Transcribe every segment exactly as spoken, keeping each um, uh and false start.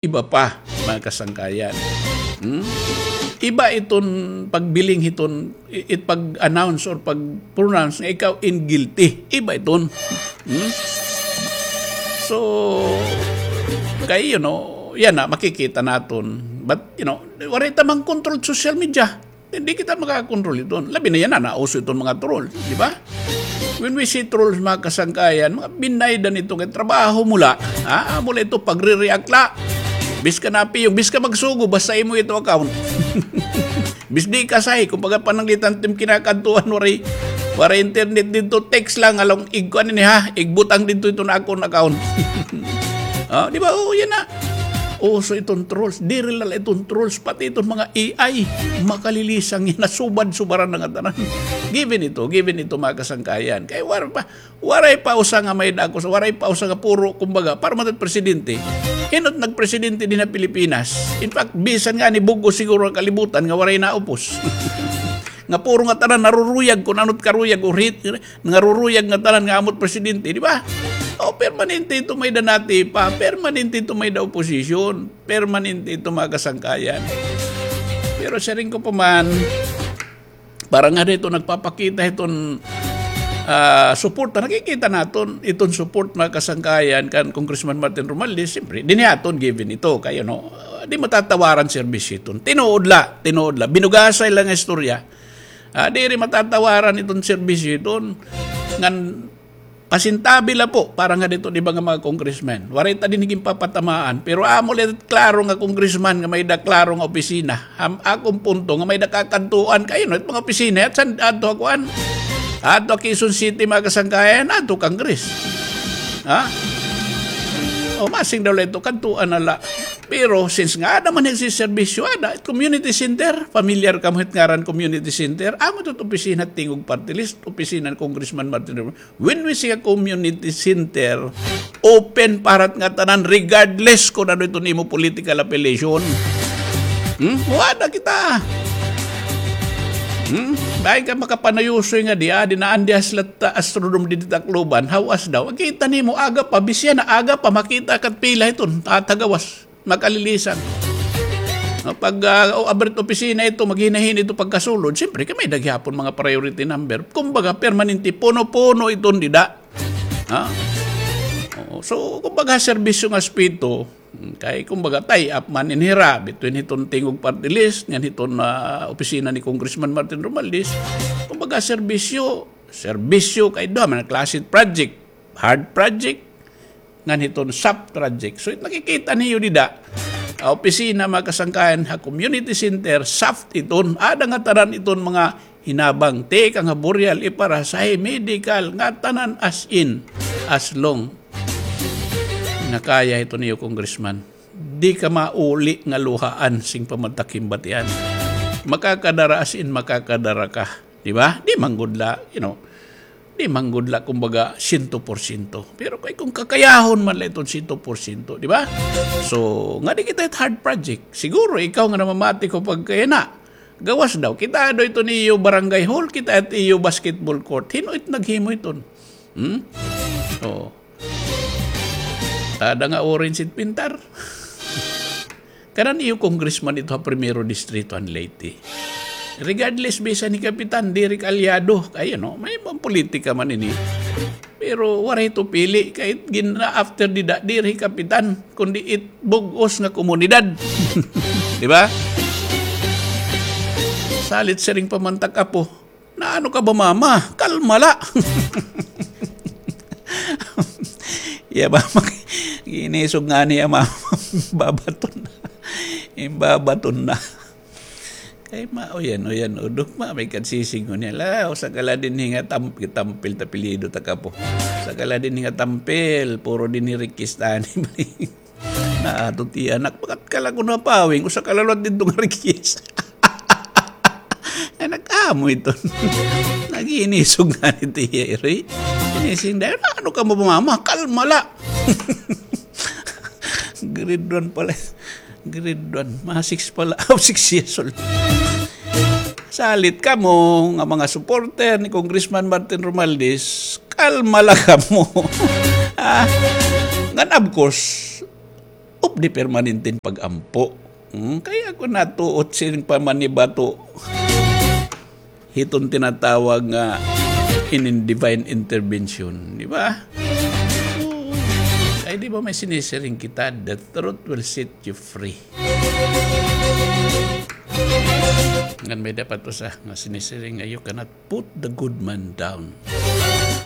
iba pa, mga kasangkayan. Hmm? Iba iton pagbiling hiton, i-, it pag-announce or pag-pronounce nga ikaw in guilty. Iba iton. Hmm? So, kay, you know, yana, makikita naton. But, you know, waray ta man control social media. Hindi kita makakontrol iton. Labi na yana, nauso iton mga trolls, di ba? When we see trolls, mga kasangkayan, mga binaydan ito kay trabaho mo la. Ha? Amo la ito, pagre-react la. Bisan ka napiyong, bisan ka magsugo, basta imo ito account. Bisan di ka sahi, kumbaga pananglitan tim kinakadtuan, waray, waray internet didto, text lang, along igkuan ini ha, igbutang didto ito na akon account. Ah, di ba? Oo, yana. Uso iton trolls. Diri la iton trolls, pati iton mga A I. Makalilisang yana, subad-subaran na nga tanan. Given ito, given ito, mga kasangkayan. Kay war pa, waray pa usa nga may-ada ako, waray pa usa nga puro, kumbaga, para man it presidente. Hin-o it nagpresidente dinhi ha Pilipinas? In fact, bisan ngani bug-os siguro an kalibutan nga waray naupos. Nga puro nga tanan naruruyag kun ano it karuyag o hit, naruruyag nga tanan nga amo it presidente, di ba? O, permanente ito may-ada natipa, permanente ito may-ada oposisyon, permanente ito mga kasangkayan. Pero siring ko pa man, para nga dito nagpapakita iton, ah, suporta, nakikita naton iton support mga kasangkayan kan Congressman Martin Romualdez, siyempre, dinhi aton given ito, kay, you know, di matatawaran serbisyo iton. Tinuod la, tinuod la. Binugasay la nga istorya. Ah, diri matatawaran iton serbisyo iton. Ngan pasintabi la po, para nga dito, di ba, nga mga congressman. Waray ta dinhi ginpapatamaan. Pero amo la klaro nga congressman nga may-ada klaro nga opisina. Am, akon punto nga may-ada kakadtuan kay, no, it mga opisina, it san, adto ha kuan. Adto ha Quezon City, mga kasangkayan, adto Congress. Ha? O, masing daw la ito, kadtuan na la. Pero since nga ada man it serbisyo, ada, community center, familiar kamo hit ngaran community center, amo ito it opisina Tingog Party List, opisina ni Congressman Martin Romualdez. When we say a community center, open para it ngatanan regardless kun ano iton imo political affiliation. Hmm? Wada kita. Hmm? Bahin ka makapanayusoy nga di, ah, dinaan di ha slat Astrodome didi Tacloban. Hawas daw. Kita nimo, aga pa, bisya na, aga pa, makita ka it pila iton, tatagawas. Makalilisang. No, pag, ah, o, abri it opisina ito, maghinahin ito pagkasulod, siyempre, kay may-ada gihapon mga priority number. Kumbaga, permanente, puno-puno iton dida. Ha? Oo. So, kumbaga, serbisyo nga aspeto, kay, kumbaga, tie-up man ini hira between hiton Tingog Party List, ngan hiton, ah, opisina ni Congressman Martin Romualdez. Kumbaga, serbisyo, serbisyo, kay duha man klase project, hard project, ngan hiton soft project. So, it nakikita niyo dida, ah, opisina, mga kasangkayan, ha community center, soft iton, ada ngatanan iton mga hinabang, tikang ha burial, iparasahe, medical, ngatanan as in, as long nga kaya hiton iyo, congressman. Di ka mauli nga luhaan sing pamatakimbatian. Makakadara as in, makakadara ka. Di ba? Di man gud la, you know, di man gud la, kumbaga, siyento porsyento. Pero kay kung kakayahon man la iton siyento porsyento, di ba? So, ngadi kita it hard project. Siguro, ikaw nga namamati ko pagkayana, gawas daw. Kita daw iton iyo barangay hall, kita it iyo basketball court. Hin-o it naghimo iton? Hmm? Oo. Ada nga orange it pintar. Kanan iyo congressman ito ha Primero Distrito han Leyte. Regardless, bisan hi Kapitan, diri ka alyado. Kay, ano, may mga politika man ini. Pero waray ito pili. Kay gin-after dida, diri hi Kapitan, kundi it bug-os nga komunidad. Di ba? Salit siring pa man it ak apo. Naano ka ba, mama? Kalma la. Iya, mama, ginisog ngani iya, mama. Babaton na. Imbabaton na. Kay ma, uyan, uyan, udok, ma, may kadsisig ko niya. La, usa ka la dinhi nga tam-, tampil, tapilido ta kapo. Usa ka la dinhi nga tampil, puro dinhi rikis tani. Naato tiya, anak, bakat ka la kuno ha pawing, usa ka la liwat didto nga rikis. Ay, nag-amo ito. Nag-iinisog ngani tiya, iroy. Inising dahil, ano ka mo, mama? Kalma la. Grade one pala. Grade one. Mga six pala. Oh, six years old. Salit kamo nga mga supporter ni Congressman Martin Romualdez, kalma la kamo. Ah, ngan of course, of the permanenteng pag-ampo. Hmm? Kay ako natuot siring pa man ni bato hiton tinatawag nga inin divine intervention, di ba? Oo. Ay, di ba may sinisiring kita, "The truth will set you free." Ngan may dapat usa nga sinisiring nga, "You cannot put the good man down."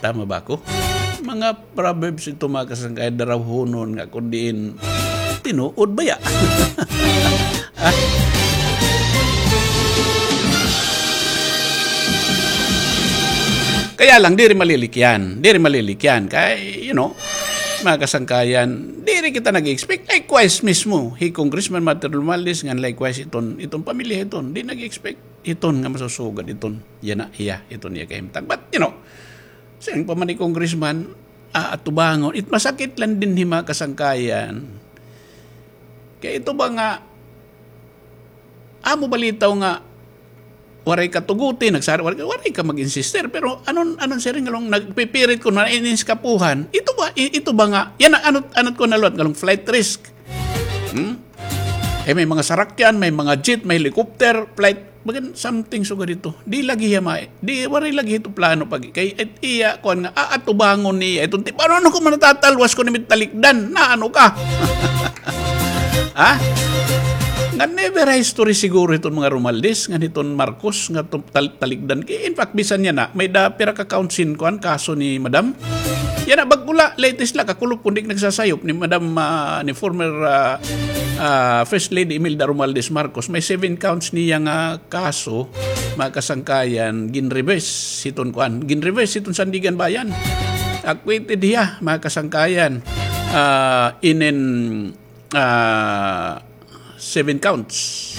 Tama ba ako? Mga proverbs ito, mga kasangkayan, darawhonon nga kun diin tinuod baya. Ah. Kaya lang, diri malilikyan. Diri malilikyan. Kay, you know, mga kasangkayan, diri kita nag-expect. Likewise mismo, hi Congressman Martin Romualdez, ngan likewise iton, iton pamilya iton, di nag-expect iton nga masusugad iton. Yana, iya, iton iya kahimtang. But, you know, siring pa man ni Congressman, ah, atubangon. It masakit lang dinhi, mga kasangkayan. Kay ito ba nga, amo balitaw nga, waray ka tuguti, nagsari, waray, waray ka mag-insister. Pero anon, anon siring nga long nagpipirit ko na ininskapuhan. Ito ba, i-, ito ba nga, yana, anot, anot ko na liwat, nga long flight risk. Hmm? Eh, may mga sarakyan, may mga jet, may helicopter, flight. Bagan something sugad ito. Di lagi hiya ma-, di, waray lagi ito plano pag, kay, et iya, kuan nga, aatubangon niya. Iton ti, paano, ano ko man natatalwas ko ni mit talikdan? Na ano ka? Ha? Nga never history siguro iton mga Romualdez, nga niton Marcos, nga tum-, tal-, talikdan. Kay, in fact, bisan yana, may da, pira ka counts in, kuan, kaso ni Madam. Yana, bag-o la, latest la, kakulop kun di nagsasayop ni Madam, ah, ni former, ah, ah, First Lady Imelda Romualdez Marcos. May seven counts niya nga kaso, mga kasangkayan, ginreverse hiton kuan, ginreverse hiton Sandigan Bayan. Acquitted hiya, mga kasangkayan. Ah, inin, ah, seven counts.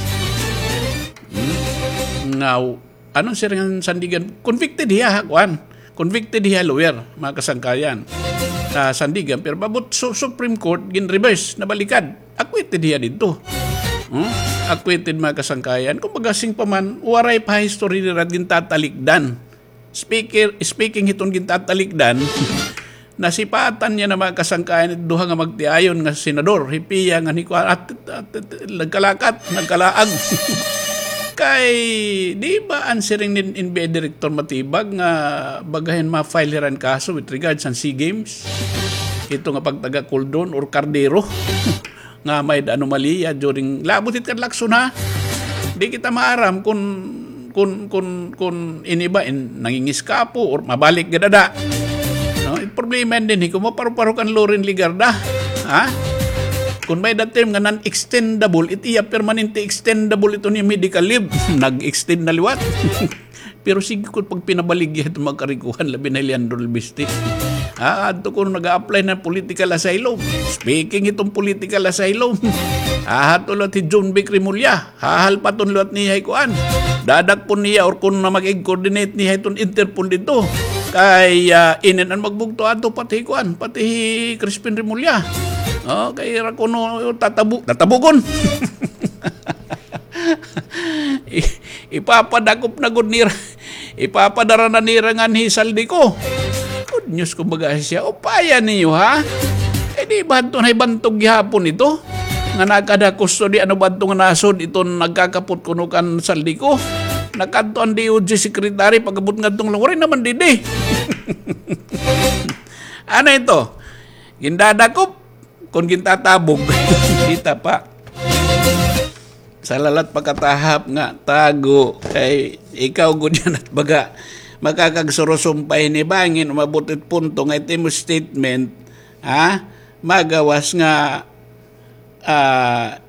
Hmm? Nga, anon siring nga Sandigan, convicted hiya, ha, kuan. Convicted hiya, lawyer, mga kasangkayan. Ah, Sandigan, pero maabot su-, Supreme Court, ginreverse, nabalikad. Acquitted hiya didto. Hmm? Acquitted, mga kasangkayan. Kumbaga, siring pa man, waray pa history nira gintatalikdan. Speaker, speaking hiton gintatalikdan, nasipatan niya na, mga kasangkayan, it duha nga magtiayon nga senador, hi Pia ngan hi kuan, at, at, at, nagkalakat, nagkalaag. Kay, di ba an siring ni N B I Director Matibag nga baga hin ma-file hira hin kaso with regards han SEA Games? Ito nga pagtaga Coldon or Cardero. Nga may-ada anomalya during, labot it kadlakson, ha? Di kita maaram kun, kun, kun, kun ini ba in nangingiskapo or mabalik gad ada. No, it problema dinhi kun mapareho-pareho kan Loren Legarda, ha? Kun may-ada term nga non-extendable, it iya permanente extendable ito ni medical leave. Nag-extend na liwat. Pero sige ko pagpinabaligya iton mga karikuhan, labi na hi Leandro Lubiste. Ha, adto kuno nag-a-apply na political asylum. Speaking hiton political asylum, ha, adto liwat hi John Vic Remulla. Hahalpaton liwat niya hi kuan. Dadakpon niya or kuno na mag-coordinate niya hiton Interpol didto. Kay, ah, inin an magbugto adto pati hi kuan, pati hi Crispin Remulla. O, kay ira kuno tatabu-, tatabugon. I-, ipapadakop na gud nira. Ipapadara na nira nganhi Zaldy Co. Good news, kumbaga, siya. Upaya niyo, ha? Eh, di ba ito na ibantog gihapon ito? Nga nakada custody, ano ba ito nga nasud, ito nagkakapot kuno kan Zaldy Co. Nakadto an D O J secretary, pag-abot ngadto nga lang, waray naman didi. Ano ito? Gindadakop? Kun gintatabog. Kita pa. Salalat pakatahap nga tago kay ikaw gud yana it baga makakagsurusumpay ni bangin umabot it punto nga it imo statement, ha? Magawas nga, ah,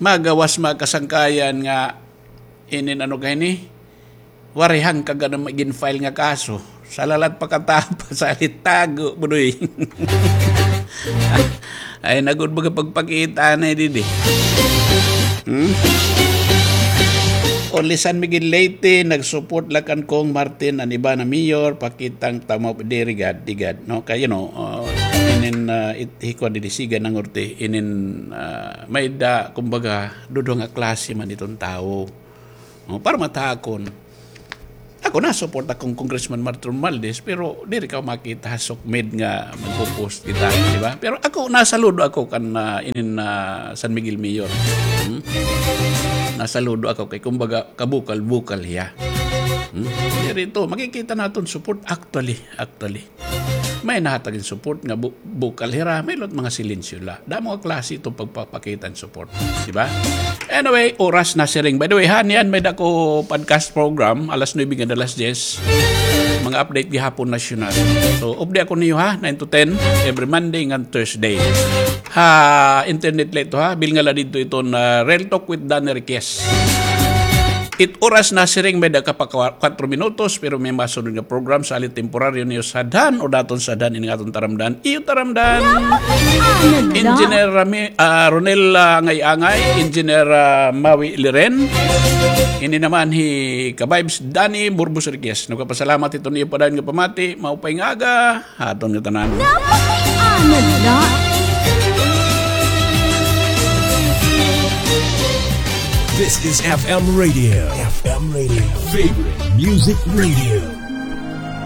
magawas mga kasangkayan nga inin ano kay ni? Waray hangkag an gin-file nga kaso. Salalat pakatahap, salit tago, budoy. Ay, nagud baga pagpakita na didi. Hmm? Only San Miguel Leyte, nag-support la kan Cong Martin, an iba na mayor, pakitang tama, diri gad, di gad, no? Kay, you know, uh, inin, uh, it, hikwa didi, siga nangurti, inin, uh, may-ada, kumbaga, duduha nga klase man iton tawo. O, para matakon. Ak, Ako na-support akon Congressman Martin Romualdez, pero diri ka makita ha SOCMED nga magpo-post kita, di ba? Pero ako, nasaludo ako kan, ah, inin, ah, San Miguel Mayor. Hmm? Nasaludo ako kay, kumbaga, kabukal-bukal hiya. Hmm? Diri ito, makikita naton support actually, actually. May nahatag hin support nga bu-, bukal hira, may lot mga silensyo la. Damo nga klase ito pagpapakita hin support. Di ba? Anyway, oras na siring. By the way, ha, niyan may dako podcast program, alas nuebe ngan alas diyes. Mga update gihapon nasyonal. So, update ako niyo ha, nine to ten, every Monday ngan Thursday. Ha, internet la ito ha, bilnga la didto iton Real Talk with Danny Riquez. It oras na siring may dako pa kwa-, kwatro minutos, pero may masunod nga program, salit temporaryo niyo sadhan o daton sadhan ini nga aton taramdan. Iyo taramdan. Engineer Rami-, ah, Ronel, ah, Angay-Angay, Engineer, ah, Maui Liren. Ini naman hi Ka-Vibes Danny Burbos Riquez. Nagpapasalamat ito niyo pa dayon nga pamati. Maupay nga aga. Aton nga tanan. Napakaianad na. This is F M Radio. F M Radio. Favorite Music Radio.